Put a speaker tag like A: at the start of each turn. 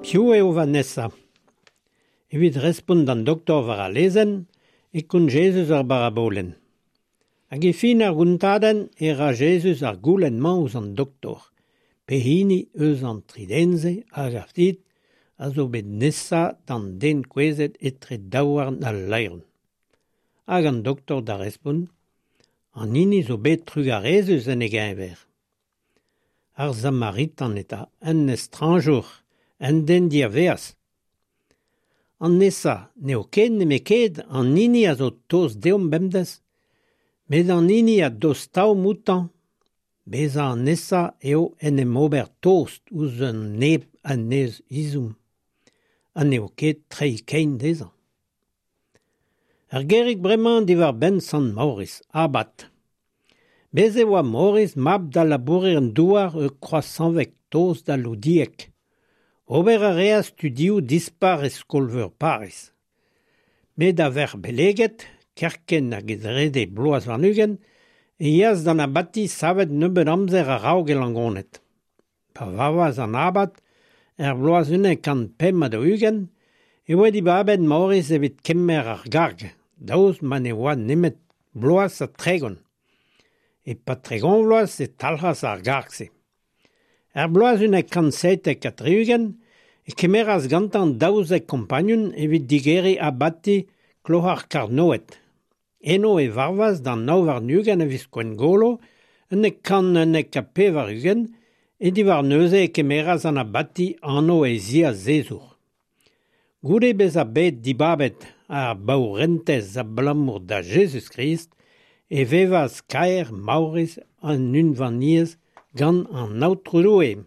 A: Piv eo va nesañ ? Evit respont d'an doktor war al lezenn e kont Jezuz ur barabolenn. Hag e fin ar gontadenn e ra Jezuz ar goulenn-mañ ouzh an doktor, pehini eus an tri den-se a gav dit a zo bet nesañ d'an den kouezhet etre daouarn al laeron. Hag an doktor da respont, an hini zo bet trugarezus en e geñver. Ar Samaritan eta, un estrañjour, un den diavaez. An nesañ n'eo ket nemetken an hini a zo tost deomp bemdez, met an hini a dostaomp outañ. Bezañ an nesañ eo en em ober tost ouzh an neb en deus ezhomm, ha n'eo ket treiñ kein dezhañ. Ur gerig bremañ diwar-benn Sant Maoris, abad. Bez' e oa Maoris mab da labourer-douar eus Kroaz-Sañveg tost da Loudieg. Ober a reas studioù dispar e skol-veur Pariz. Met a-vec'h beleget, kerkent hag e drede bloaz warn-ugent, e yeas d'an abati savet nebeut amzer a-raok e Langoned. Pa varvas an abad, er bloaz 145, e oa dibabet Maoris evit kemer ar garg, daoust ma ne oa nemet bloaz ha 30. E-pad 30 vloaz e talc'has ar garg-se. Er bloaz 177 e kemeras gantañ 12 kompagnun evit digeriñ abati Kloar-Karnoed. Eno e varvas d'an 29 a viz Gwengolo 191, ha diwar neuze e kemeras an abati anv e ziazezour. Goude bezañ bet dibabet ar baourentez abalamour da Jezuz-Krist e vevas kaer Maoris en unvaniezh gant an Aotrou Doue.